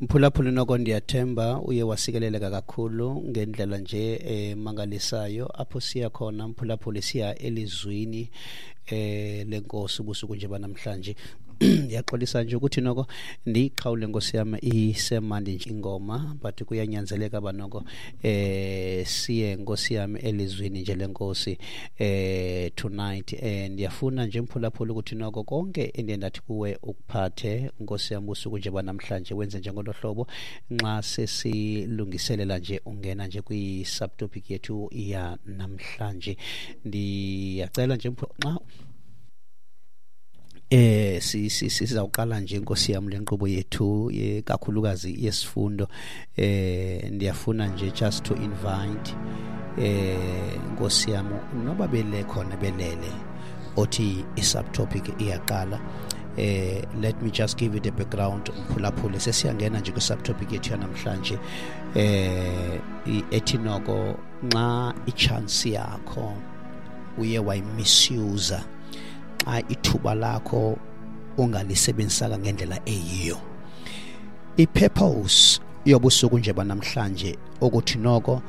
Mphulaphuli, noko ndiyathemba uye wasikeleleka kakhulu ngendlela nje emangalisayo apho siya khona. Mphulaphuli, siya elizwini lenkosi ubusuku nje banamhlanje. Ndiyaxolisa nje ukuthi noko ndiyiqhawule, nkosi yam, isemandi nje ingoma, but kuyanyanzeleka uba noko siye, nkosi yam, elizwini nje lenkosi tonight. Ndiyafuna nje, mphulaphula, ukuthi noko konke endiye ndathi kuwe ukuphathe, nkosi yam, busuku nje banamhlanje, wenze njengolo hlobo nxa sesilungiselela nje ungena nje kwi-subtopic yethu yanamhlanje. Ndiyacela nje, nxa sizawuqala nje, nkosi yam, le nkqubo yethu kakhulukazi yesifundo, ndiyafuna nje just to invite, nkosi yam, noba bele khona belele othi i-subtopic iyaqala. Let me just give you the background, mphulaphuli. Sesiyangena nje kwi-subtopic yethu yanamhlanje ethi noko nxa i-chance yakho uye wayi-misuse, xa ithuba lakho ungalisebenzisanga ngendlela eyiyo. I-purpose yobusuku nje banamhlanje ukuthi noko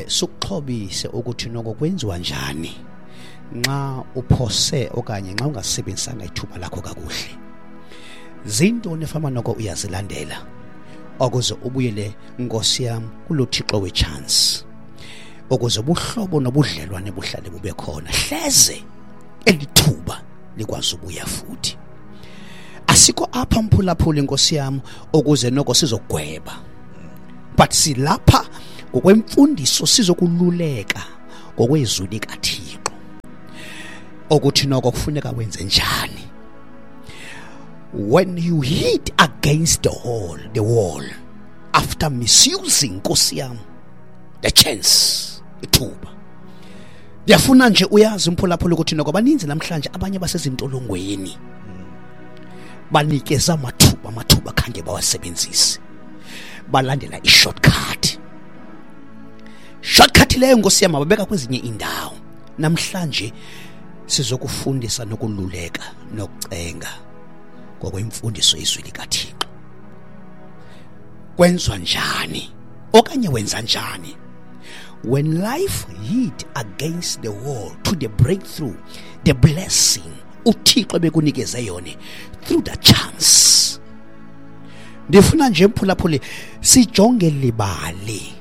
sukuxhobise ukuthi noko kwenziwa njani nxa uphose okanye nxa ungasebenzisanga ithuba lakho kakuhle, zintoni efama noko uyazilandela ukuze ubuyele, nkosi yam, kulo Thixo we-chance, ukuze ubuhlobo nobudlelwane buhlale bube khona, hleze elithuba likwazi ubuya futhi. Asikho apha, mphulaphula, inkosi yam, ukuze noko sizogweba, but silapha ngokwemfundiso, sizokululeka ngokwezwi likaThixo ukuthi noko kufuneka wenze njani when you hit against the wall after misusing, nkosi yam, the chance, ithuba. Ndiyafuna nje uyazi, mphulaphula, ukuthi noko baninzi namhlanje abanye basezintolongweni, banikeza amathuba khange bawasebenzise, balandela i-shortcut. Shortcut leyo, nkosi yam, babeka kwezinye indawo. Namhlanje sizokufundisa nokululeka nokucenga ngokwemfundiso yezwi likaThixo, kwenziwa njani okanye wenza njani when life hit against the wall to the breakthrough, the blessing uThixo bekunikeze yona through the chance. Ndifuna nje, mphulaphuli, sijonge libali,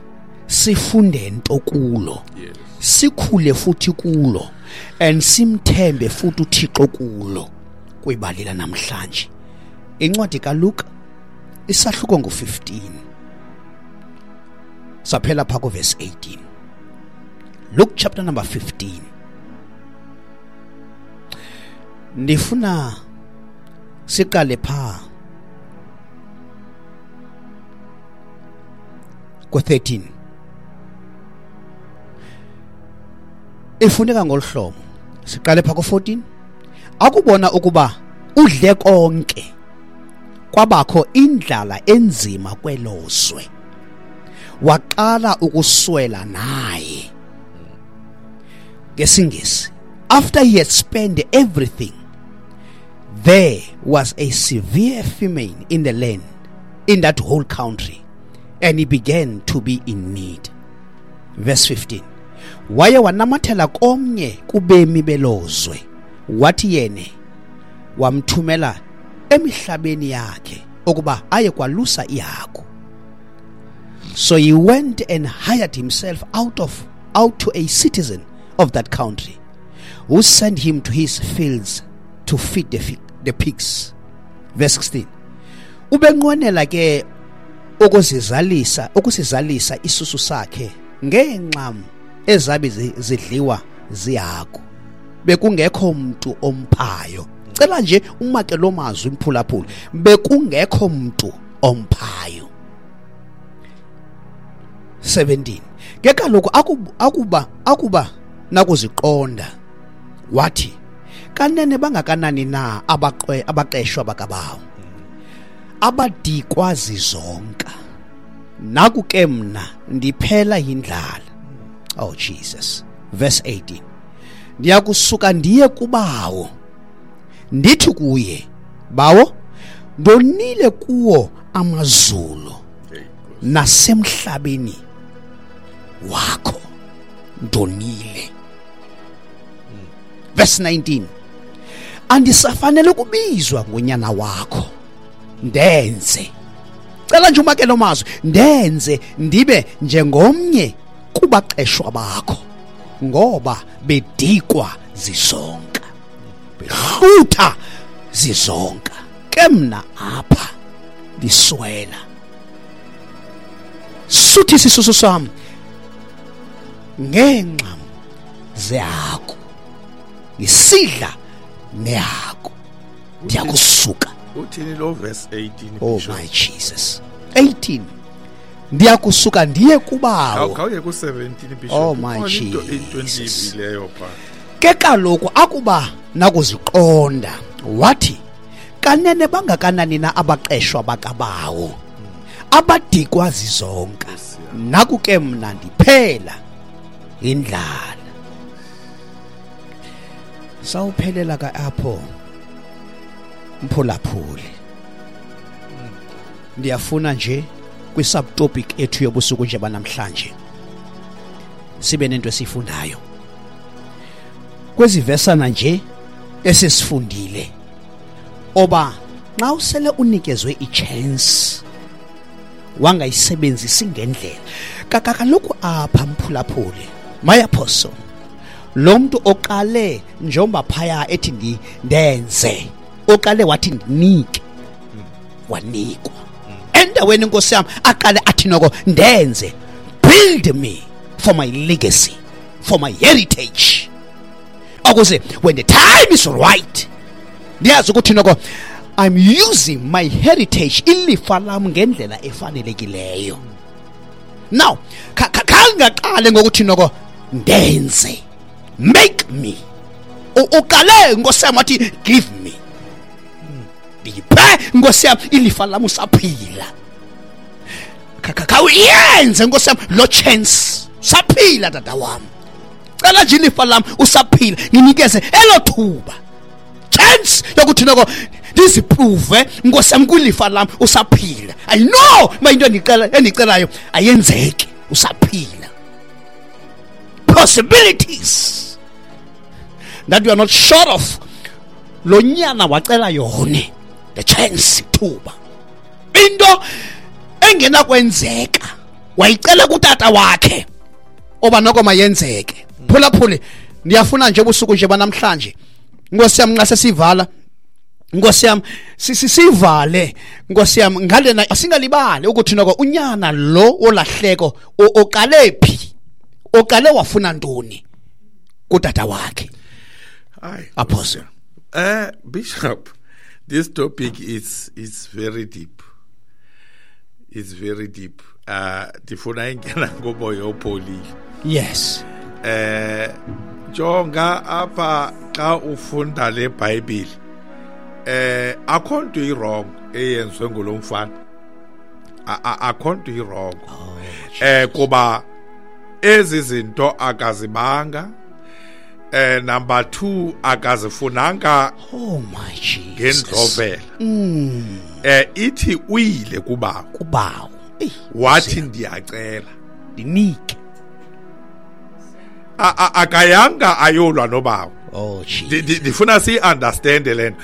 sifunde nto kulo, sikhule futhi kulo and simthembe futhi uThixo kulo. Kwibali namhlanje, incwadi kaLuka, isahluko ngo-15, saphela pha kuverse 18. Luke chapter number 15. Ndifuna siqale pha ku-13. Ifuneka ngolu hlobo, siqale pha ku-14: Akubona ukuba udle konke, kwabakho indlala enzima kwelozwe, waqala ukuswela naye. NgesiNgesi, after he had spent everything, there was a severe famine in the land, in that whole country, and he began to be in need. Verse 15: Waye wanamathela komnye kubemi belozwe, wathi yene wamthumela emihlabeni yakhe ukuba aye kwalusa ihagu. So he went and hired himself out to a citizen of that country, who sent him to his fields to feed the pigs. Verse 16: Ubenqwenela ke ukusizalisa isusu sakhe ngeencam ezabe zidliwa zihagu, bekungekho mntu omphayo. Cela nje umake lo mazwi, mphulaphula: bekungekho mntu omphayo. 17: Ke kaloku akuba nakuziqonda, wathi, "Kanene bangakanani na abaqeshwa bakabawo abadikwa zizonka, naku ke mna ndiphela yindlala!" Oh Jesus. Verse 18: "Ndiyakusuka ndiye kubawo, ndithi kuye, Bawo, ndonile kuwo. amazulu nasemhlabeni wakho ndonile. Verse 19, andisafanele ukubizwa ngonyana wakho, ndenze, cela nje umakelo mazwi, ndenze ndibe njengomnye kubaqeshwa bakho, ngoba bedikwa zizonka, behlutha zizonka, ke mna apha ndiswela. Suthi isisusu sami ngenxa zehagu, ngisidla nehagu, ndiyakusuka. Uthini lo verse 18? Oh my Jesus. 18, ndiyakusuka ndiye kubawo. Khawuye ku 17 Bishop. Oh my Jesus. Ke kaloku akuba nakuziqonda wathi, kanene bangakanani na abaqeshwa bakabawo abadikwa zizonka, naku ke mna ndiphela indlala. Sawuphelela ka apho mphulaphuli. Ndiyafuna nje kwi-subtopic ethu yobusuku nje banamhlanje sibe nento esifundayo kwezi vesana nje esisifundile, oba nxa usele unikezwe i-chance wangayisebenzisi ngendlela. Kaloku apha mphulaphuli, my apostle, lo mntu oqale njengoba phaya ethi ndenze, oqale wathi ndinike, wanikwa. Endaweni inkosi yami aqale athi noko ndenze, build me for my legacy, for my heritage, ukuze when the time is right ndiyazi ukuthi noko I'm using my heritage, ilifa lam ngendlela efanelekileyo. Now khangaqale ngokuthi noko ndenze, make me, uqale nkosi yami wathi give me, ndiphe nkosi yami ilifa lam usaphila. Khawuyenze nkosi yami lo chance, saphila tata wami, cela nje ilifa lam usaphila, nginikeze elo thuba, chance yokuthi noko ndiziprove nkosi yami kwilifa lam usaphila. I know ma into endicelayo ayenzeki usaphila. Possibilities that you are not sure of, lo nyana wacela yona the chance, thuba, into engenakwenzeka wayicela kutata wakhe oba noko mayenzeke. Phulaphuli, ndiyafuna nje ubusuku nje banamhlanje nkosi yami nxa sesivala, nkosi yami sisivale nkosi yami ngalena, asingalibali ukuthi noko unyana lo olahleko oqale phi, oqale wafuna ntoni kutata wakhe. Hayi Apostle. Bishop, this topic is very deep. It's very deep. Ndifuna ingena ngomoya opholile. Yes. Jonga apha xa ufunda le Bible, akho nto i-wrong eyenziwe ngulo mfana. Akho nto i-wrong. Kuba ezi zinto akazibanga. Number 2 akazifunanga. Oh my Jesus. Ngendlovela. Ithi uyile kubawo. Kubawo. Wathi ndiyacela ndinike. Akayanga ayolwa nobawo. Oh Jesus. Ndifuna si-understand le nto.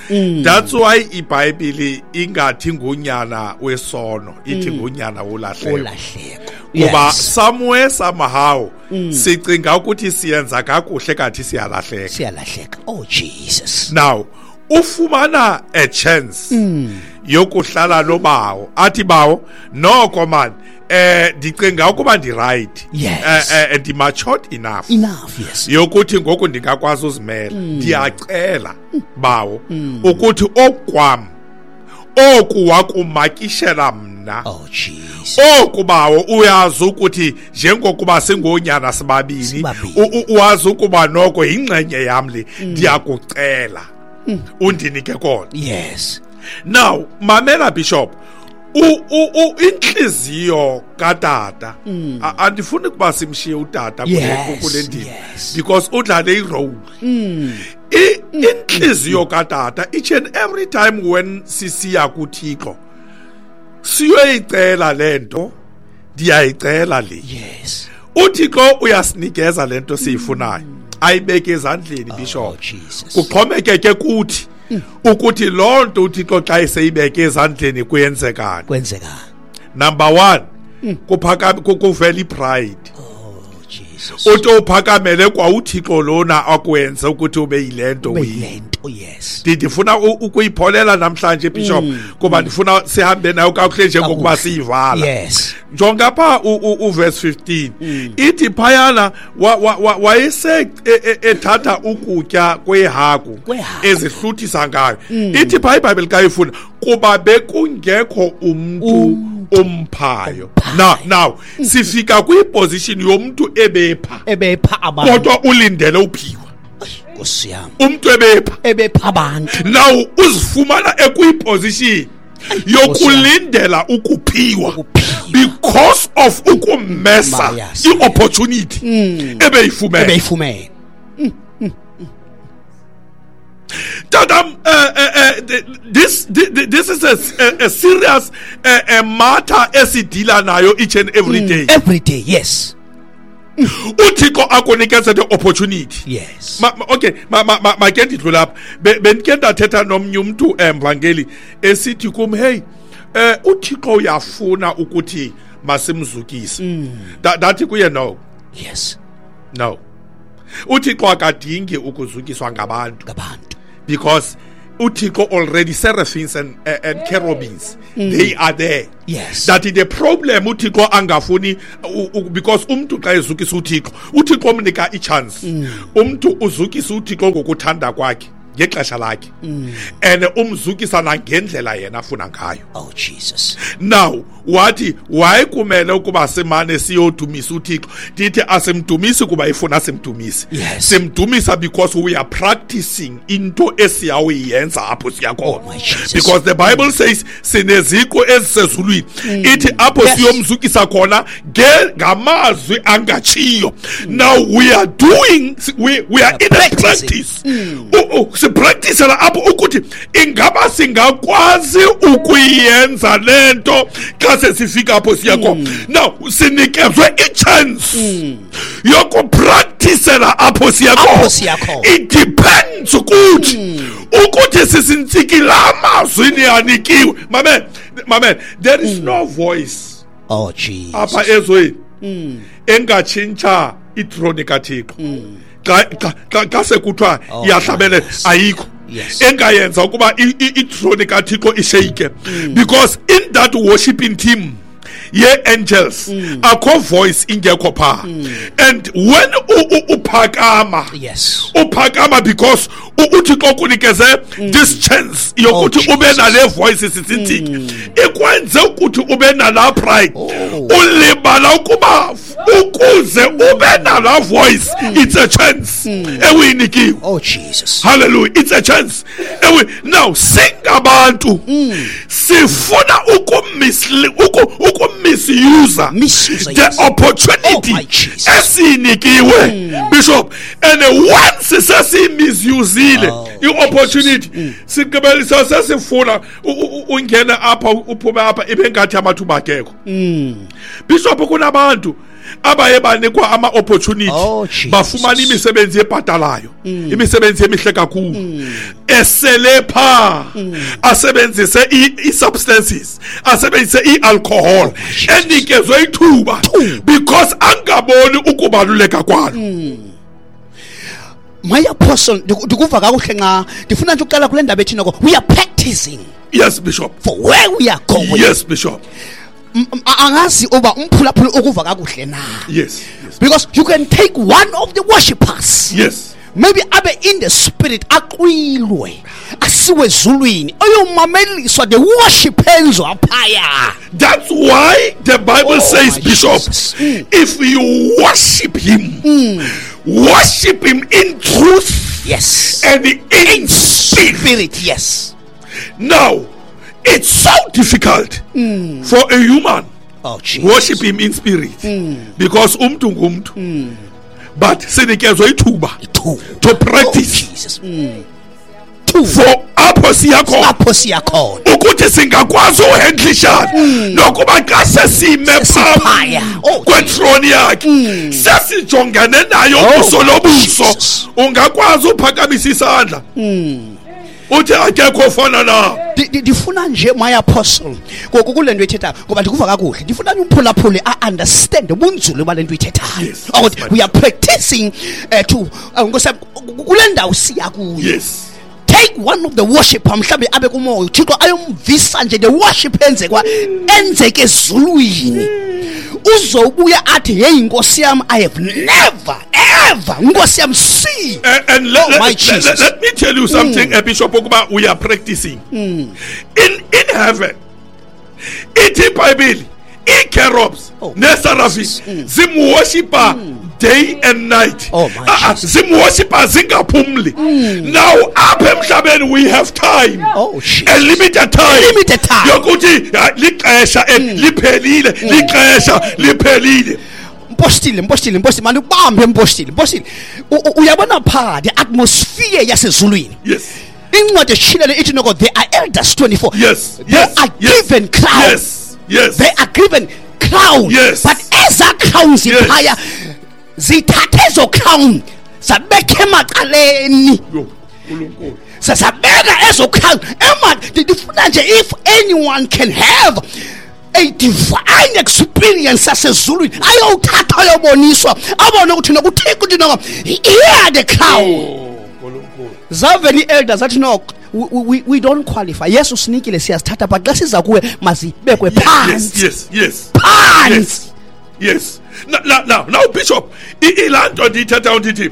That's why iBhayibhile ingathi ngunyana wesono, ithi ngunyana wolahleko. Kuba somewhere somehow sicinga ukuthi siyenza kakuhle kanti siyalahleka. Siyalahleka. Oh Jesus. Now ufumana a chance yokuhlala nobawo, athi bawo noko man, ndicinga ukuba ndi right, ndi matured enough, yes, yokuthi ngoku ndingakwazi uzimela. Ndiyacela bawo ukuthi okwam oku wakumakishela mna. Oh Jesus. Oku bawo uyazi ukuthi njengokuba singonyana sibabini, uwazi ukuba noko yingxenye yam le, ndiyakucela undinike kona. Yes. Now mamela Bishop, inhliziyo katata, andifuni kuba simshiye utata kule ndima, because udlale i-role. Inhliziyo katata each and every time when sisiya kuThixo, Siyoyicela lento, ndiyayicela le. Yes. UThixo uyasinikeza lento siyifunayo. Ayibeke ezandleni, Bishop. Oh, Jesus. Kuxhomekeke kuthi ukuthi loo nto uThixo xa eseyibeke ezandleni kuyenzekani. Kwenzeka. Number 1, kuphakama kuvela ipride. Oh, Jesus. Uthi uphakamele kwa uThixo lona akwenze ukuthi ube yilento uyiyo. Beyilento, yes. Ndifuna ukuyipholela namhlanje, Bishop, kuba ndifuna sihambe nayo kakuhle njengokuba Kakuhle. siyivala. Yes. Jonga pha uverse 15, ithi phayana wayese ethatha ukutya kwehagu Kwehagu. ezihluthisa ngayo. Ithi pha iBhayibheli xa ifuna kuba bekungekho umntu umphayo. Now sifika kwiposition yomntu ebepha, Ebepha abantu. kodwa ulindele uphiwa. Nkosi yami. Umntu ebepha, Ebepha abantu. now uzifumana ekwiposition yokulindela ukuphiwa Ukuphiwa. because of ukumesa Mayas. i-opportunity ebeyifumene. Ebeyifumene. Tatam, this is a serious matter esidila nayo each and every day. Every day, yes. UThixo akunikeze the opportunity. Yes. Okay, make ndidlule apha. Bendike ndathetha nomnye umntu, mvangeli, esithi kum, hey, uThixo uyafuna ukuthi masimzukise. Ndathi kuye no. Yes. No. UThixo akadingi ukuzukiswa ngabantu. Ngabantu. Because uThixo already seraphims and cherubims, they are there. Yes. That the problem uThixo angafuni because umntu xa ezukisa uThixo, uThixo umnika ichance. Umntu uzukisa uThixo ngokuthanda kwakhe ngexesha lakhe. And umzukisa nangendlela yena afuna ngayo. Oh, Jesus. Now wathi wayekumele ukuba simane siyodumisa uThixo. Ndithi asimdumisi kuba ifuna simdumise. Yes. Simdumisa because we are practicing into esiyawuyenza apho siya khona. Oh, my Jesus. Because the Bible says sineziqu ezisezulwini. Ithi apho Yes. siyomzukisa khona ngamazwi angatshiyo. Now we are doing, we are in a Practicing. practice. Sipracticela apho ukuthi ingaba singakwazi ukuyenza lento xa sesifika apho siya khona. Now sinikezwe i-chance yokupracticela apho siya Apho khona. siya khona. It depends kuthi ukuthi sisintsiki amazwi niyanikiwe. Mamen, mamen, there is no voice Oh, Jesus. apha ezweni engatshintsha itroni kaThixo. Xa sekuthiwa Oh, iyahlabelela, yes. ayikho Yes. engayenza ukuba itroni kaThixo ishake, because in that worshiping team ye-angels akho voice ingekho pha. And when uphakama, Yes. uphakama because uThixo kunikeze this chance yokuthi Oh, ube Jesus. nale voice sisithiki ikwenze ukuthi ube nala pride. Oh. Ulibala ukuba ukuze ube nala voice, it's a chance ewuyinikiwe. Oh, Jesus. Hallelujah, it's a chance. Now singabantu sifuna ukumisuse Misuse, the yes. opportunity Oh, my Jesus. esinikiwe, Bishop. And once sesimisusile Oh, i-opportunity, sigqibelisa sesifuna ungene apha uphume apha ibe ngathi amathuba akekho. Bishop, kunabantu abaye banikwa ama-opportunity, Oh, Jesus. bafumana imisebenzi ebhatalayo, imisebenzi emihle kakhulu, esele pha asebenzise i-substances, asebenzise i-alcohol, Jesus. enikezwe ithuba because angaboni ukubaluleka kwalo. My apostle, ndikuva kakuhle nxa ndifuna nje ukuqala kule ndaba ethi noko we are practicing Yes, Bishop. for where we are going. Yes, Bishop. Angazi uba umphulaphula ukuva kakuhle na. Yes, yes. Because you can take one of the worshippers. Yes. Maybe abe in the spirit aqwilwe asiwe ezulwini ayomameliswa the worship enzwa phaya. That's why the Bible Oh, says, my Bishop, Jesus. if you worship him, worship him in truth Yes. and in spirit. Spirit, yes. Now, it's so difficult for a human Oh, Jesus. worship him in spirit because umntu ngumntu. But sinikezwe ithuba Two. to practice Oh, Jesus. Two. for Apho siya khona. Apho siya khona. Ukuthi singakwazi uhandlishana nokuba xa sesime Sesiphaya. phambi kwethrone yakhe, sesijongene nayo ubuso nobuso, ungakwazi uphakamisa isandla uthi akekho ofana na. Ndifuna nje, my apostle, kule nto ithethayo, ngoba ndikuva kakuhle, ndifuna umphulaphuli a-understand ubunzulu bale nto ithethayo, ukuthi we are practicing to Nkosi yam, kule ndawo siya kuyo. Take one of the worshipper, mhlawumbe abe kumoya uThixo ayomvisa nje the worship enzekwa enzeke ezulwini, uzobuya athi, "Hey, Nkosi yam, I have never ever, Nkosi yam, see." And Oh, my Jesus. Let me tell you something, Bishop, ukuba we are practicing in heaven. Ithi iBhayibheli ii-cherubs nee-seraphim zimworshipa day and night. Oh, my Jesus. Zimworshipa zingaphumli. Now apha emhlabeni we have time, Oh, Jesus. a limited time, Limited time. yokuthi lixesha liphelile, lixesha liphelile. Mpostile, mpostile, mpostile, mandikubambe, mpostile, mpostile. Uyabona phaa the atmosphere yasezulwini, incwadi eshilele ithi noko there are elders 24. They are given crown. They are given crown. But eza crowns phaya, zithathe ezo crown zabekha emacaleni. Yo, Nkulunkulu. Sasabeka ezo crown ema. Ndifuna nje, if anyone can have a divine experience yasezulwini, ayowuthatha ayoboniswa, abone ukuthi nokuThixo uthi noko, "Here the crown." Oh, Nkulunkulu. Zavela ii-elders athi no, we don't qualify. Yes, usinikile, siyazithatha, but xa siza kuwe mazibekwe phantsi. Phantsi. Yes. Now, Bishop, ilaa nto ndiyithethayo ndithi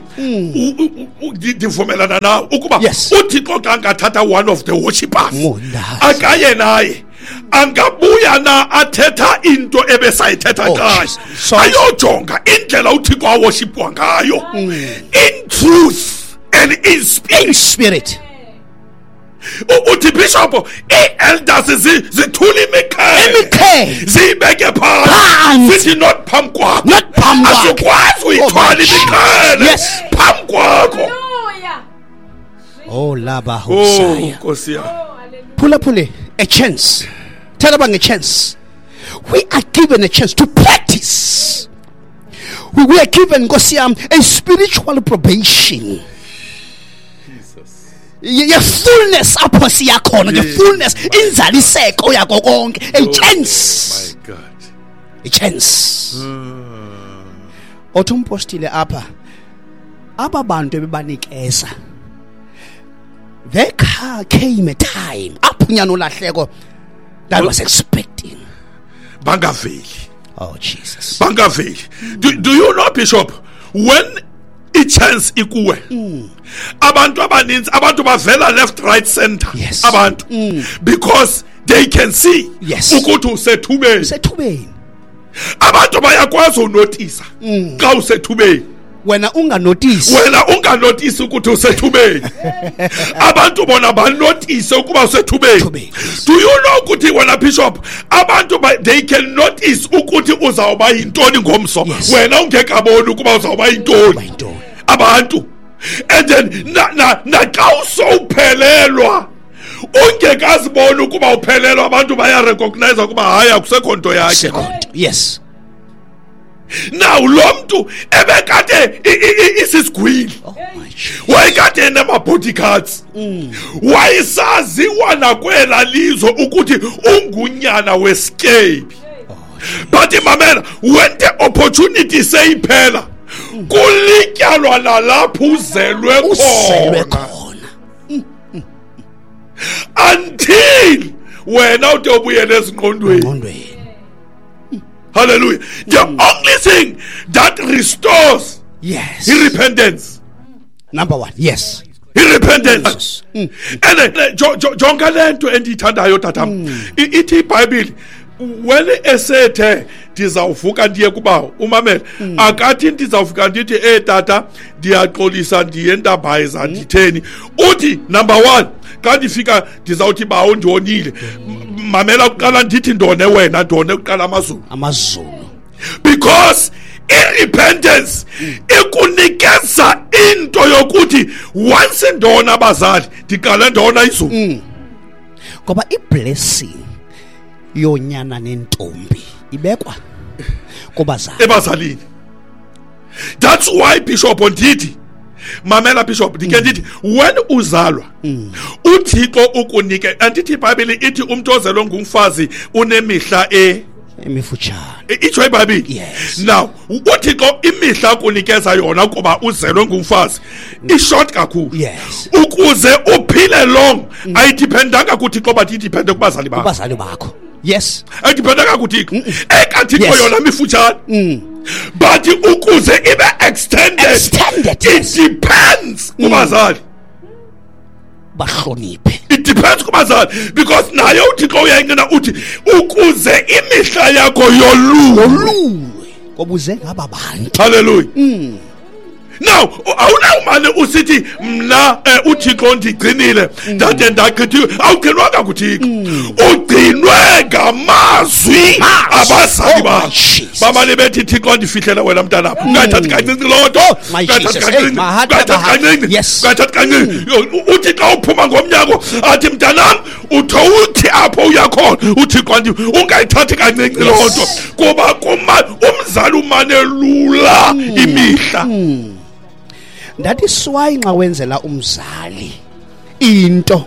ndivumelana nawe ukuba uThixo xa angathatha one of the worshippers Ngondazi. akaye naye, angabuya na athetha into ebesayithetha Oh, xa Jesus. Sorry. ayojonga indlela uThixo aworshipwa ngayo in truth and in spirit. In spirit. Uthi Bishop, ii-elders zithula imiqhele, Imiqhele. ziyibeke Phantsi. phantsi, zithi not phambi kwakho. Not phambi kwakho. Asikwazi uyithwala Oh, my imiqhele phambi kwakho. Hallelujah. Oh, laba Oh, hosaya. Nkosi yam. Oh, hallelujah. Phulaphule, a chance. Tell about a chance. We are given a chance to practice. We are given, Nkosi yam, a spiritual probation. Ye fullness apho siya khona, the fullness, inzaliseko yako konke, a chance. My God. A chance. Othi umpostile apha, aba bantu ebebanikeza, there came a time apho unyana olahleko that was expecting Bangaveli. Oh, Jesus. Bangaveli. Do you know, Bishop, when i-chance ikuwe, abantu abaninzi, abantu bavela left, right, center, abantu, because they can see ukuthi usethubeni. Sethubeni. Abantu bayakwazi unotisa xa usethubeni. Wena unganotisi. Wena unganotisi ukuthi usethubeni, abantu bona banotise ukuba usethubeni. Ethubeni. Do you know ukuthi wena, Bishop, abantu they can notice ukuthi uzawuba yintoni ngomso, wena ungekaboni ukuba uzawuba yintoni? Uba yintoni. Abantu, and then na xa usowuphelelwa, ungekaziboni ukuba uphelelwa, abantu bayarecognize ukuba hayi, akusekho nto yakhe. Sekho nto. Now lo mntu ebekade isisigwili, Oh my Jesus. wayekade enama-bodyguards, wayesaziwa nakwela lizwe ukuthi ungunyana wesikebi, but mamela, when the opportunity seyiphela, kulityalwa nalapho uzelwe Uzelwe khona khona. Until wena ude ubuyele ezingqondweni. Ngqondweni. Hallelujah. The only thing that restores i-repentance. Number one, yes. I-repentance. And jonga le nto endiyithandayo, tatam. Ithi iBhayibhile, when esethe ndizawuvuka ndiye kubawo, umamele, akathi ndizawuvuka ndithi, "Eh tata, ndiyaxolisa, ndiye ndabhayiza, nditheni." Uthi number one, xa ndifika ndizawuthi, "Bawo, ndionile." Mamela, kuqala ndithi ndone wena, ndone kuqala amazulu. Amazulu. Because i-repentance ikunikeza Into yokuthi once ndona abazali ndiqale ndona izulu. Ngoba iblessing yonyana nentombi ibekwa kubazali, ebazalini. That's why Bishop ndithi, mamela Bishop, ndike ndithi when uzalwa uThixo ukunike, andithi iBhayibheli ithi umuntu ozelwe ngumfazi unemihla emifutshane, itsho iBhayibheli. Yes. Now uThixo imihla akunikeza yona kuba uzelwe ngumfazi ishort kakhulu. Yes. Ukuze uphile long ayidependanga kuThixo, but idepende kubazali bakho. Kubazali bakho. Yes. Ayidependanga kuThixo. Ekathixo Yes. yona mifutshane. But ukuze ibe extended, Extended, it yes. depends kubazali. Bahloniphe. It depends kubazali, because naye uThixo uyayingena uthi ukuze imihla yakho yolulwe. Yolulwe. Ngoba uze ngaba bantu. Hallelujah. Now awunawumane usithi mna uThixo ndigcinile ndade ndagqithiwe. Awugcinwanga kuThixo, ugcinwe ngamazwi abazali Oh, bakho. my Jesus. Bamane bethi Thixo ndifihlele wena mntanam, ungathathi kancinci loo nto, Oh, my ungathathi Jesus. kancinci, Hey, my heart, ungathathi my heart. kancinci, Yes. ungathathi kancinci. Uthi xa uphuma ngomnyango athi mntanam utho uthi apho uyakhona uThixo ndi ungayithathi kancinci loo nto, kuba umzali umane lula imihla. That is why nxa wenzela umzali into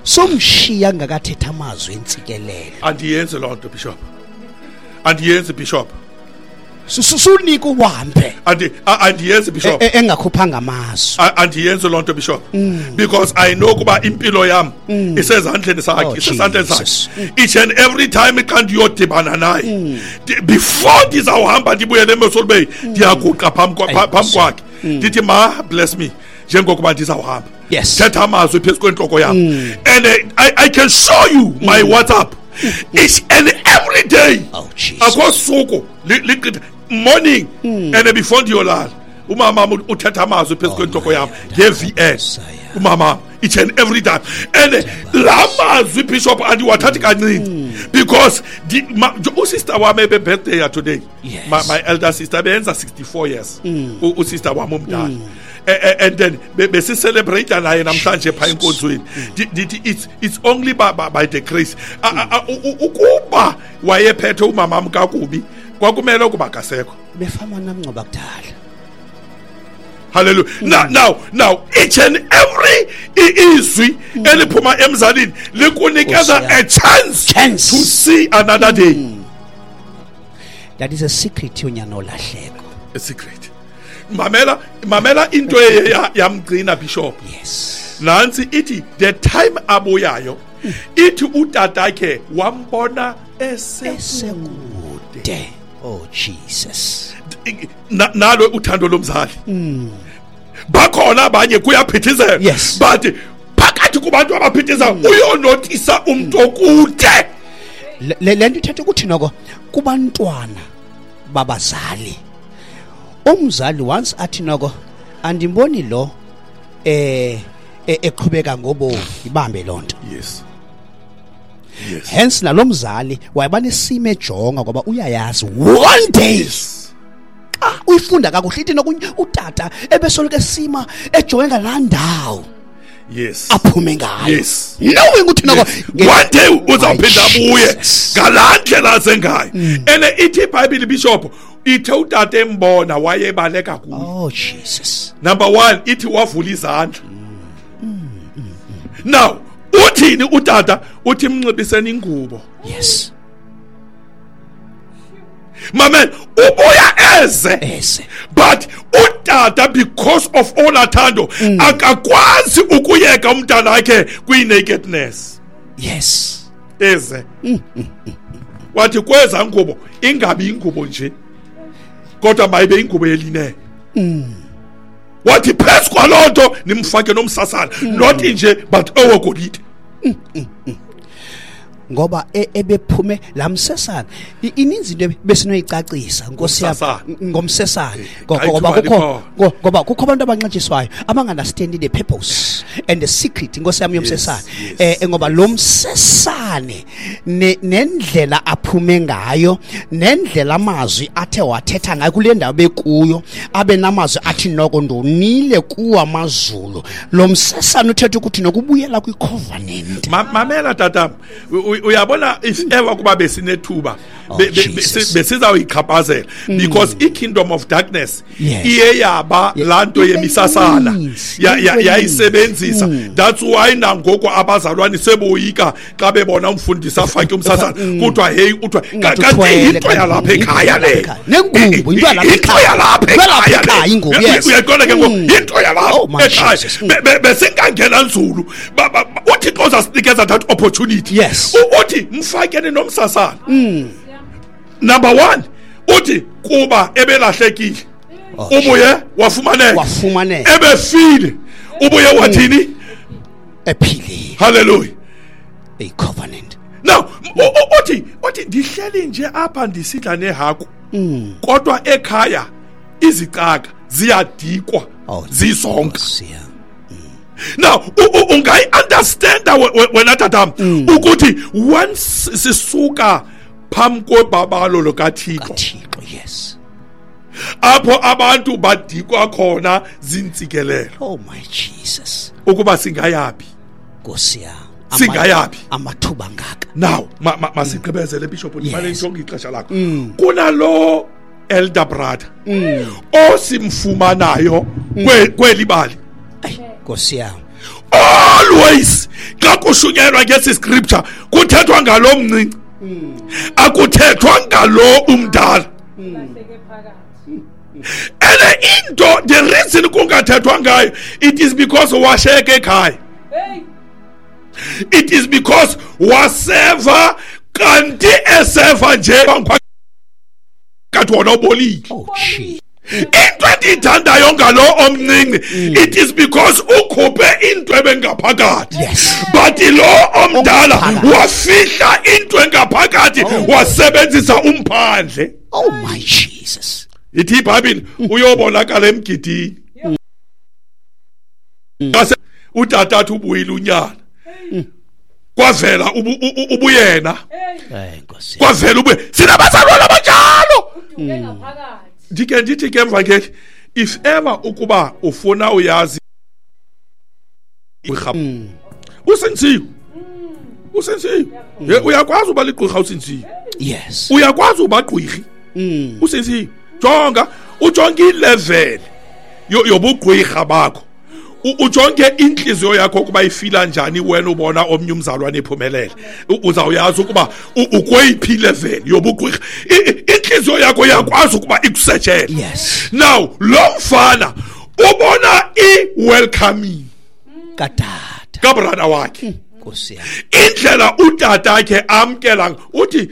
somshiya ngakathetha amazwi entsikelelo. Andiyenzi loo nto Bishop, andiyenzi Bishop. Sunika uhambe. Andiyenzi Bishop. Engakhuphanga amazwi. Andiyenzi loo nto Bishop, because I know kuba impilo yam isezandleni sakhe, Oh, isezandleni sakhe. Jesus. Each and every time xa ndiyodibana naye, before ndizawuhamba ndibuyele eMossel Bay, ndiyaguqa phambi kwakhe ndithi ma bless me njengokuba ndizawuhamba. Yes. Thetha amazwi phezu kwentloko yam. And I can show you my WhatsApp each and every day. Oh, Jesus. Akho suku liqitha morning and before ndiyolala umama uthetha amazwi phezu kwentloko yam nge-VN. Umama each and every time, and la mazwi Bishop andiwathathi kancinci, because usister wam ebe-birthday ya today. Yes. My elder sister beyenza 64 years. Usister wam omdala. And then besicelebrate naye namhlanje phaa enkonzweni. Ndithi it's only by the grace. Ukuba wayephethe umamam kakubi kwakumele ukuba akasekho. Befama namngcoba kudala. Hallelujah. Now each and every izwi eliphuma emzalini likunikeza a chance to see another day. That is a secret yonyana olahleko. A secret. Mamela into yamgcina Bishop. Yes. Nansi ithi the time abuyayo ithi utatakhe wambona esekude. Oh Jesus. Nalo uthando lomzali. Bakhona abanye kuyaphithizela. Yes. But phakathi kubantu abaphithizayo uyonotisa umuntu okude. Le nto ithetha ukuthi noko kubantwana babazali. Umzali once athi noko andimboni lo eqhubeka ngobomi ibambe lonto. Yes. Yes. Hence nalomzali wayebanesimo ejonga ngoba uyayazi one day. Yes. Uyifunda kakuhle ithi nokunye utata ebesoloko esima ejonge ngalaa ndawo. Yes. Aphume ngayo. Yes. Knowing ukuthi noko one day uzawuphinda abuye ngalaa ndlela azengayo. And ithi iBhayibhile Bishop ithe utata embona wayebaleka kuye. Oh Jesus. Number 1 ithi wavula izandla. Now uthini utata? Uthi mnxibiseni ingubo. Yes. Mamen ubuya eze. But utata because of all athando akakwazi ukuyeka umntana wakhe kwi-nakedness. Yes. Eze. Wathi kweza ngubo ingabi ingubo nje kodwa mayibe ingubo yeline. Wathi phezu kwaloo nto nimfake nomsasana, not nje but owegolide. Ngoba ebephume lamsesana ininzi into besinoyicacisa Nkosi yami ngomsesana, ngoba kukho abantu abanxatshiswayo abanga-understandi the purpose and the secret, Nkosi yami, yomsesana, ngoba lo msesane nendlela aphume ngayo, nendlela amazwi athe wathetha ngayo kule ndawo bekuyo, abe namazwi athi noko ndonile kuwo amazulu. Lo msesane uthetha ukuthi nokubuyela kwi-covenant. Mamela tata, uyabona, if ever kuba besinethuba besizawuyichaphazela, because i-kingdom of darkness iye yaba laa nto yemisasana yayisebenzisa. That's why nangoku abazalwane seboyika xa bebona umfundisi afake umsasana, kuthiwa heyi, uthiwa kanti yinto yalapha ekhaya le, nengubo into yalapha ekhaya ingubo. Uyayiqonda ke ngoku, yinto yalapha ekhaya. Besingangena nzulu, uThixo uzasinikeza that opportunity. Uthi mfakeni nomsasana. Number 1, uthi kuba ebelahlekile ubuye wafumaneka, ebefile ubuye wathini, ephilile. Hallelujah. A covenant. Now uthi ndihleli nje apha ndisidla nehaku, kodwa ekhaya izicaka ziyadikwa zizonke. Now ungayi-understanda wena tatam ukuthi once sisuka phambi kwebabalo lukaThixo, yes, apho abantu badikwa khona zintsikelelo. Oh my Jesus, ukuba singayaphi, Nkosi yami, singayaphi amathuba ngaka. Now masigqibezele Bishop, ndimane njonge ixesha lakho. Kunalo elder brother osimfumanayo kweli bali, Nkosi yami, always xa kushunyelwa ngesi scripture kuthethwa ngalo mncinci, akuthethwa ngalo umdala. Ene into, the reason kungathethwa ngayo, it is because washeke ekhaya. It is because waseva, kanti eseva nje kanti wona ubolile. Into endiyithandayo ngalo omncinci, it is because ukhuphe into ebengaphakathi. But lo omdala wafihla into engaphakathi, wasebenzisa umphandle. Oh my Jesus. Ithi iBhayibhile uyobonakala emgidini. Utata athi ubuyile unyana. Kwavela ubuyena. Kwavela ubuye. Sinabazalwane abanjalo. Ndike ndithi ke mvangeli, if ever ukuba ufuna uyazi usensiwe, usensiwe, uyakwazi uba ligqirha usensiwe. Yes, uyakwazi uba gqirhi usensiwe. Jonga, ujonge ilevel yobugqirha bakho, ujonge inhliziyo yakho ukuba ifila njani wena ubona omnye umzalwane ephumelele, uzawuyazi ukuba ukweyiphi level yobugqirha. Inhliziyo yakho iyakwazi ukuba ikusetshele. Yes. Now lo mfana ubona i-welcoming katata kabrada wakhe, Nkosi yami, indlela utata akhe amkela, uthi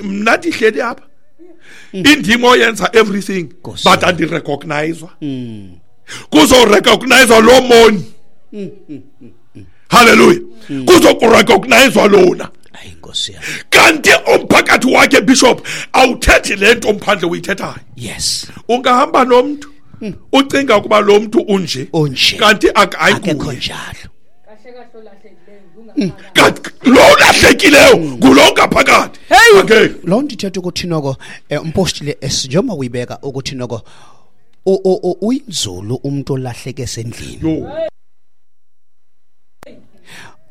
mna ndihleli apha indimo yenza everything but andirecognizwa. Kuzorecognizwa lo moni. Hallelujah. Kuzokurecognizwa lona. Ayi Nkosi yami. Kanti umphakathi wakhe Bishop awuthethi lento umphandle uyithethayo. Yes. Ungahamba nomuntu ucinga ukuba lo muntu unje, kanti akekho njalo. Kanti lo ulahlekileyo ngulo ngaphakathi. Okay. Lo nto ithetha ukuthi noko umpostile njengoba uyibeka ukuthi noko uyinzulu umuntu olahleke esendlini.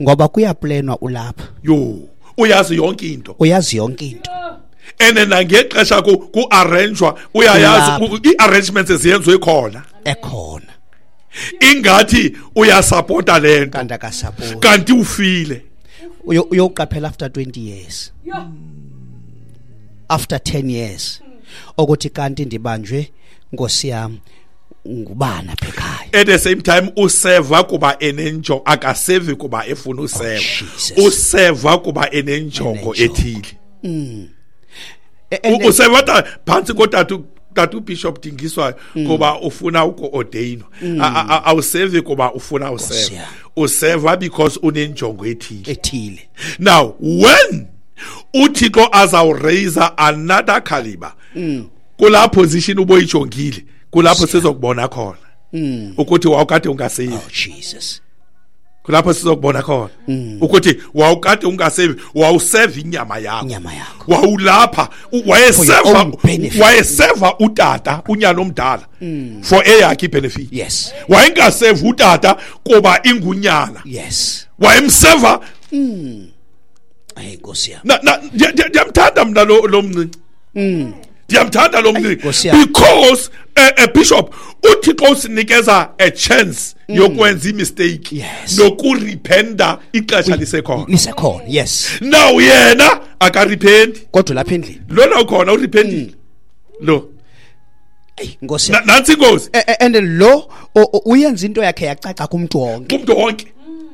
Ngoba kuyaplanwa ulapha. Yo, uyazi yonke into. Uyazi yonke into. Ene nangexesha ku-arrangewa, uyayazi i-arrangements eziyenziwe khona. Ekhona. Ingathi uyasupporta lento. Kanti akasupport. Kanti ufile. Uyoqaphela after 20 years. After 10 years. Ukuthi kanti ndibanjwe Nkosi yami ngubana apha ekhaya. At the same time useva kuba enenjongo, akasevi kuba efuna useva. Useva kuba enenjongo ethile. Useva phantsi kotatu tatu Bishop Dingiswayo kuba ufuna uku-ordainwa. Awusevi kuba ufuna useva. Useva because unenjongo ethile. Ethile. Now when uThixo azawuraise another caliber. Kula position uboyijongile, kulapho sizokubona khona ukuthi wawukade ungasevi. Oh Jesus. Kulapho sizokubona khona ukuthi wawukade ungasevi, wawuseva inyama yakho. Wawulapha, wayeseva utata unyana omdala for eyakhe ibenefit. Yes. Wayengaseva utata kuba ingunyana. Yes. Wayemseva. Ay Nkosi yami. Na ndiyamthanda mina lo mncinci. Ndiyamthanda lo mncinci because bishop uThixo usinikeza a chance yokwenza imistake nokurependa ixesha lisekhona. Yes. Now yena akarependi. Kodwa lapha endlini lona ukhona urependile. Lo. Ay Nkosi. Nansi inkosi. And lo uyenza into yakhe yacaca kumuntu wonke. Kumuntu wonke.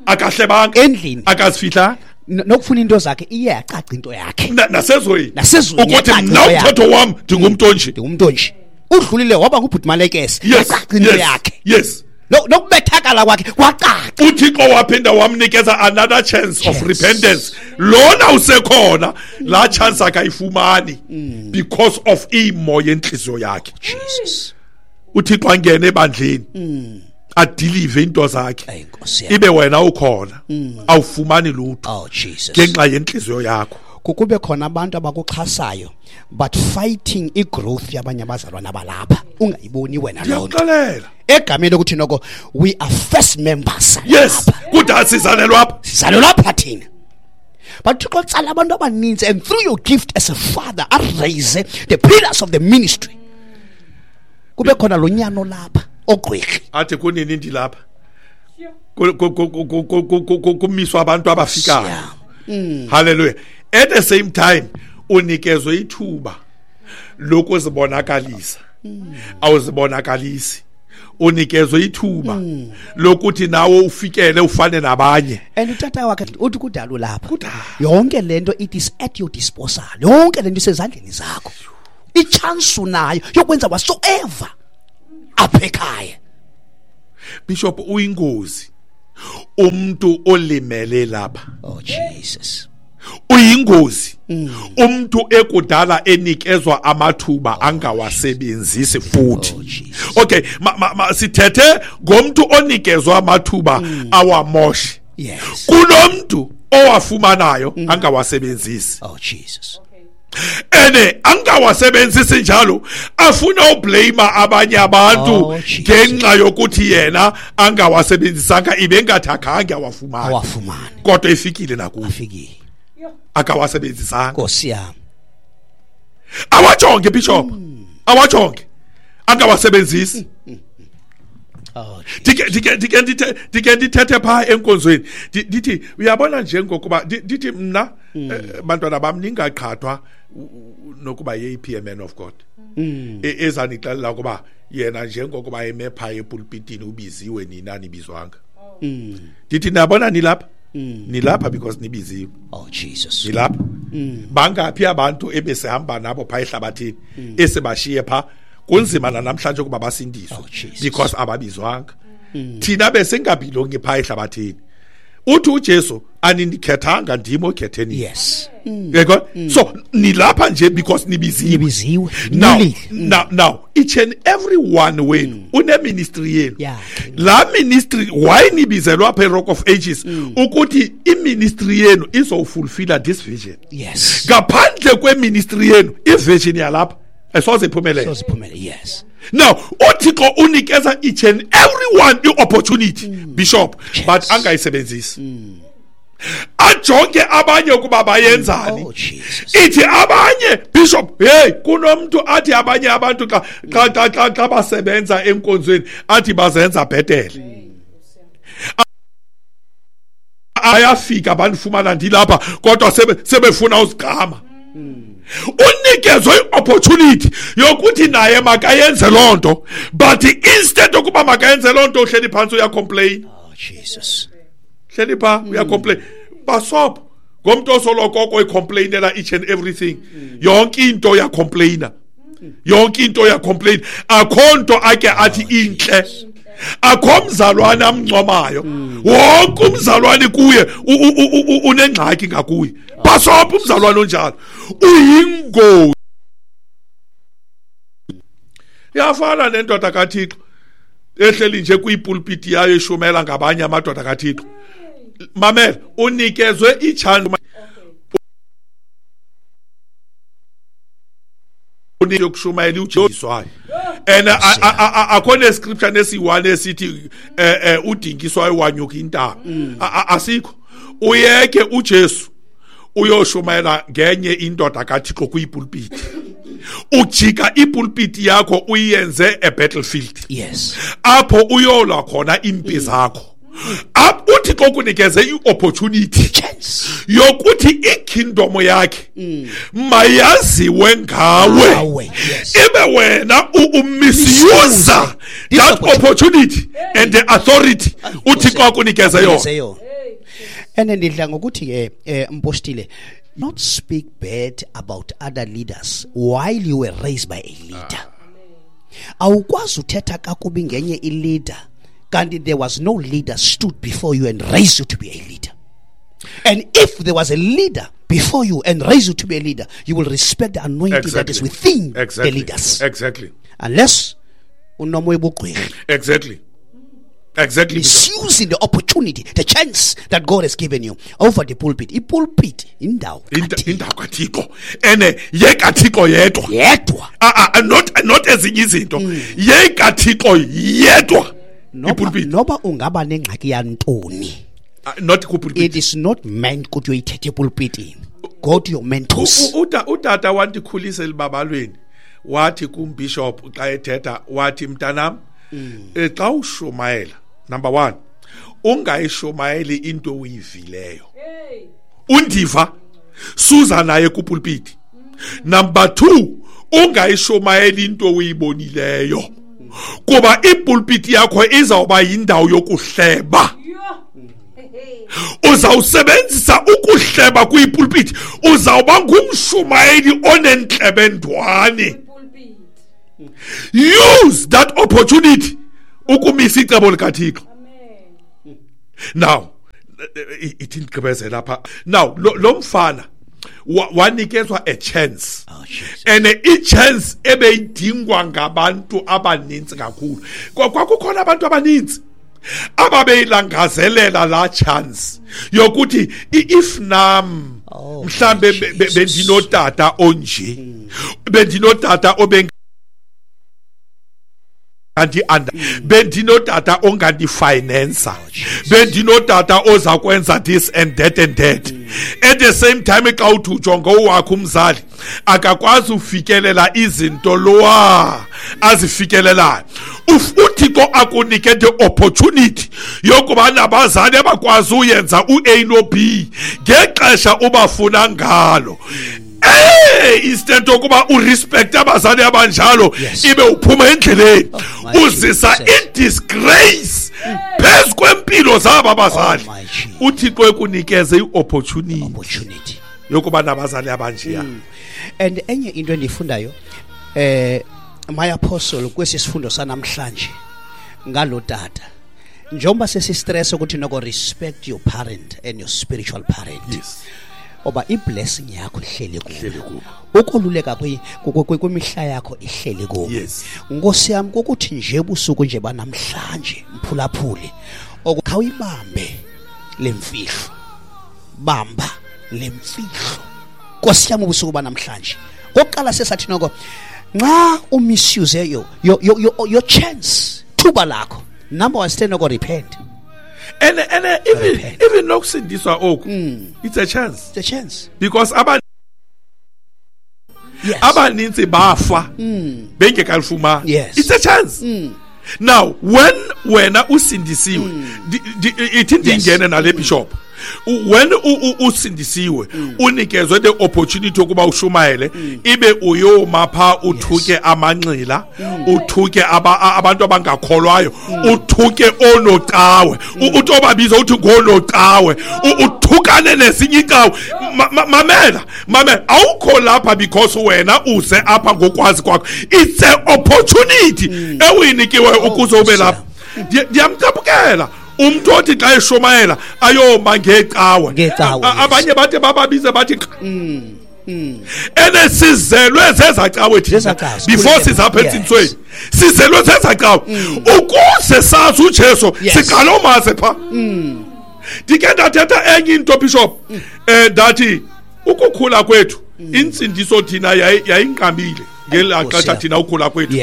Akahlebanga endlini. Akazifihlanga. Nokufuna into zakhe iye yacaca into yakhe. Nasezweni. Nasezweni. Ukuthi mina umthetho wami ndingumntu onje. Ndingumntu onje. Udlulile waba ngubhuti Malekese. Yacaca into yakhe. Yes. Nokubethakala kwakhe kwacaca. uThixo waphinda wamnikeza another chance of repentance. Lona usekhona la chance akayifumani because of imo yenhliziyo yakhe. Jesus. uThixo angene ebandleni. Adelive into zakhe. Ibe wena ukhona awufumani lutho. Oh Jesus. Ngenxa yenhliziyo yakho. Kukube khona abantu abakuxhasayo but fighting igrowth yabanye abazalwana balapha ungayiboni wena lonto. Ndiyakuxelela. Egameni lokuthi noko we are first members. Yes. Kudala sizalelwa apha. Sizalelwa apha thina. But Thixo tsala abantu abaninzi and through your gift as a father raise the pillars of the ministry. Kube khona lo nyano lapha ogqwirhi. Athi kunini ndilapha? Kumiswa abantu abafikayo. Hallelujah. At the same time unikezwe ithuba lokuzibonakalisa. Awuzibonakalisi. Unikezwe ithuba lokuthi nawe ufikele ufane nabanye. And utata wakhe uthi kudala lapha. Yonke lento it is at your disposal. Yonke lento isezandleni zakho. Ichance unayo yokwenza whatsoever apha ekhaya. Bishop uyingozi. Umuntu olimele lapha. Oh Jesus. Uyingozi. Umuntu ekudala enikezwa amathuba angawasebenzisi futhi. Okay, sithethe ngomuntu onikezwa amathuba awamoshe. Yes. Kunomuntu owafumanayo angawasebenzisi. Oh Jesus. Ene angawasebenzisi njalo afuna ublame abanye abantu ngenxa yokuthi yena angawasebenzisanga ibe ngathi awafumane. Kodwa ifikile nakuye. Afikile. Akawasebenzisanga. Nkosi yami. Awajonge bishop. Awajonge. Angawasebenzisi. Dike ndithethe pha enkonzweni. Ndithi uyabona njengokuba ndithi mna bantwana bam ningaqhathwa nokuba yeyiphi man of God. Ezanixelela ukuba yena njengokuba eme pha epulpitini ubiziwe nina nibizwanga. Ndithi nabona nilapha. Nilapha because nibiziwe. Oh Jesus. Nilapha. Bangaphi abantu ebesihamba nabo pha ehlabathini esebashiye pha kunzima namhlanje kuba basindiswe because ababizwanga. Thina besingabhilongi pha ehlabathini. Uthi uJesu anindikhethanga ndimo okhetheni. Yes. Yego. So nilapha nje because nibiziwe. Now each and every one wenu une ministry yenu. La ministry why nibizelwa apha Rock of Ages ukuthi i ministry yenu izofulfill this vision. Yes. Ngaphandle kwe ministry yenu i vision yalapha asoze iphumelele. Soze iphumelele. Yes. Now uThixo unikeza each and everyone i opportunity bishop but angayisebenzisi. Ajonge abanye ukuba bayenzani. Ithi abanye bishop hey kunomuntu athi abanye abantu xa basebenza enkonzweni athi bazenza bhetele. Ayafika abantu ndilapha kodwa sebefuna usigama. Unikezwe iopportunity yokuthi naye makayenze lonto but instead ukuba makayenze lonto uhleli phansi uyacomplain. Oh Jesus. Hleli pha uyacomplain. Basop ngomntu osoloko ecomplainela each and everything. Yonke into uyacomplaina. Yonke into uyacomplain. Akho nto ake athi inhle. Akho mzalwane amncomayo. Wonke umzalwane kuye unengxaki ngakuye. Bhasopha umzalwane onjalo. Uyingozi. Yafana nendoda kaThixo ehleli nje kwipulpiti yayo eshumela ngabanye amadoda kaThixo. Mamela, unikezwe ichance yokushumayela uJesu. And akho nescripture nesiyi-1 esithi udingiswayo wanyuka intaba. Asikho. Uyeke uJesu uyoshumayela ngenye indoda kaThixo kwipulpiti. Ujika ipulpiti yakho uyenze a battlefield. Yes. Apho uyolwa khona impi zakho. Uthixo kunikeze i-opportunity yokuthi ikingdom yakhe mayaziwe ngawe. Yes. Ibe wena umisuse that opportunity and the authority uThixo akunikeze yona. And ndidla ngokuthi ke mpostile, not speak bad about other leaders while you were raised by a leader. Awukwazi uthetha kakubi ngenye i-leader kanti there was no leader stood before you and raised you to be a leader. And if there was a leader before you and raised you to be a leader, you will respect the anointing that is within the leaders. Exactly. Unless unomoya obugqwirha. Exactly. Exactly. Misusing the opportunity, the chance that God has given you over the pulpit. I-pulpit indawo indawo kaThixo. Ene yekaThixo yedwa. Yedwa. Not ezinye izinto. YekaThixo yedwa. Noba ungaba nengxaki yantoni. Not kupulpit. It is not meant ukuthi uyithethe epulpitini. Go to your mentors. Utata wandikhulisa elibabalweni. Wathi kumbishop xa ethetha wathi mntanam, xa ushumayela, number 1, ungayishumayeli into oyivileyo. Undiva suza naye kupulpiti. Number 2, ungayishumayeli into oyibonileyo. Kuba ipulpiti yakho izawuba yindawo yokuhleba. Uzawusebenzisa ukuhleba kwipulpiti, uzawuba ngumshumayeli onentlebendwane. Use that opportunity ukumisa icebo likaThixo. Now ithi ndigqibezela apha. Now lo mfana wanikezwa a chance. And i-chance ebeyidingwa ngabantu abaninzi kakhulu. Kwakukhona abantu abaninzi ababeyilangazelela la chance yokuthi if nam mhlambe bendinotata onje, bendinotata obe bendinotata ongandifinansa, bendinotata oza kwenza this and that and that. At the same time xa uthi ujonga owakho umzali akakwazi ufikelela izinto lowa azifikelelayo. uThixo akunike the opportunity yokuba nabazali abakwazi uyenza u-A no-B ngexesha ubafuna ngalo. Instead yokuba urespect abazali abanjalo, ibe uphuma endleleni uzisa i-disgrace phezu kwempilo zabo abazali. uThixo ekunikeze i-opportunity yokuba nabazali abanjeya. And enye into endifundayo my apostle kwesi sifundo sanamhlanje ngalo tata, njengoba sesi-stress ukuthi noko respect your parent and your spiritual parent. Yes. Oba i-blessing yakho ihleli kubo. Ukoluleka kwimihla yakho ihleli kubo. Yes. Nkosi yami kokuthi nje busuku nje banamhlanje mphulaphuli okhawuyibambe lemfihlo. Bamba lemfihlo. Nkosi yami ubusuku banamhlanje. Kokuqala sesathi noko nxa umisuse your chance thuba lakho. Number 1, stand noko repent. And even nokusindiswa oku, it's a chance. It's a chance. Because abaninzi bafa bengekalifumani. Yes. It's a chance. Now when wena usindisiwe, ithi ndingene nale bishop. When usindisiwe unikezwe the opportunity yokuba ushumayele, ibe uyoma pha uthuke amanxila, uthuke abantu abangakholwayo, uthuke onocawe, uthi obabiza uthi ngonocawe, uthukane nesinye icawe. Mamela, awukho lapha because wena uze apha ngokwazi kwakho. It's an opportunity ewuyinikiwe ukuze ube lapha. Ndiyamcaphukela umntu othi xa eshumayela ayoma ngeecawe. Abanye bathe bababize bathi ene sizelwe zezacawe thina before sizapha entsindisweni, sizelwe zezacawe ukuze sazi uJesu, siqala umaze pha. Ndike ndathetha enye into, Bishop, ndathi ukukhula kwethu insindiso thina yayinqabile ngelaa xesha thina ukhula kwethu.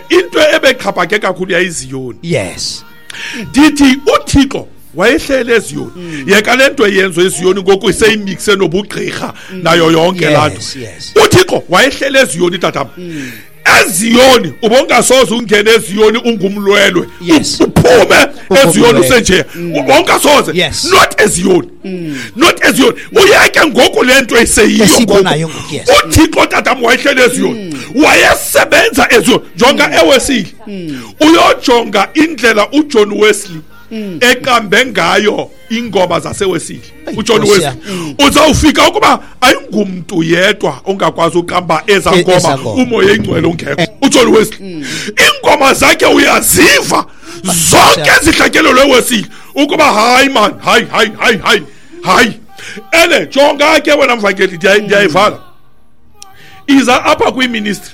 Into ebexhaphake kakhulu yayiziyoni. Ndithi uThixo wayehlele eziyoni. Yeka le nto eyenziwa eziyoni ngoku iseyimikse nobugqirha nayo yonke laa nto. UThixo wayehlele eziyoni, tatam. Eziyoni ubongasoze ungene eziyoni ungumlwelwe. Uphume eziyoni usenje. Ubongasoze. Not eziyoni. Not eziyoni. Uyeke ngoku le nto eseyiyo ngoku. UThixo tatam wayehlele eziyoni. Wayesebenza eziyoni. Jonga eWesley. Uyojonga indlela uJohn Wesley eqambe ngayo ingoma zaseWesley. uJohn Wesley uzawufika ukuba ayingumntu yedwa ongakwazi uqamba eza ngoma umoya engcwele ungekho. uJohn Wesley ingoma zakhe uyaziva zonke zihlatyelelwe eWesley ukuba hayi man, hayi hayi hayi hayi hayi. Ene jonga ke wena mvangeli, ndiyayivala. Iza apha kwiministry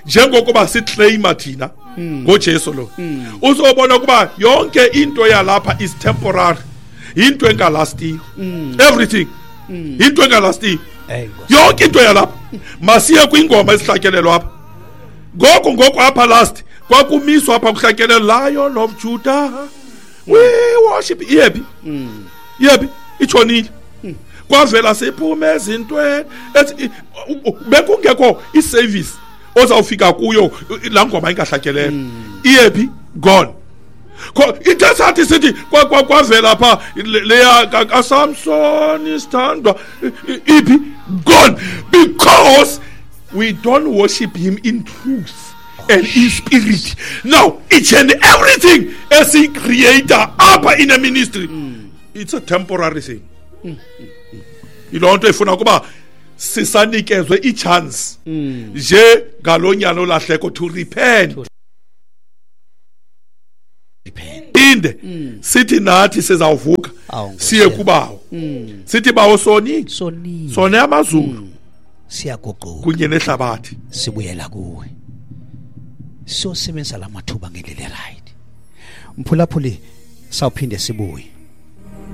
njengokuba siclaima thina ngoJesu lo, uzobona ukuba yonke into yalapha is temporary, into engalastiyo. Everything into engalastiyo, yonke into yalapha. Masiye kwingoma esihlatyelelwa apha ngoku apha last kwakumiswa apha kuhlatyelelwa Lion of Judah we worship. Iyephi? Iyephi? Itshonile. Kwavela siphume ezintweni bekungekho iservice ozawufika kuyo laa ngoma ingahlatyelelwa. Iyephi? Gone. Into esathi sithi kwavela pha leya kaSamson isithandwa, iphi? Gone. Because we don't worship him in truth and in spirit. Now each and everything as he creator apha in a ministry, it's a temporary thing. Yiloo nto ifuna ukuba sisanikezwe ichance nje ngalonyana olahleko to repent. Inde sithi nathi sizawuvuka siye kubawo. Sithi bawo soni sone amazulu, siyaguquka kunye nehlabathi, sibuyela kuwe, siyosebenzisa la mathuba ngendlela right. Mphulaphuli, sawuphinde sibuye.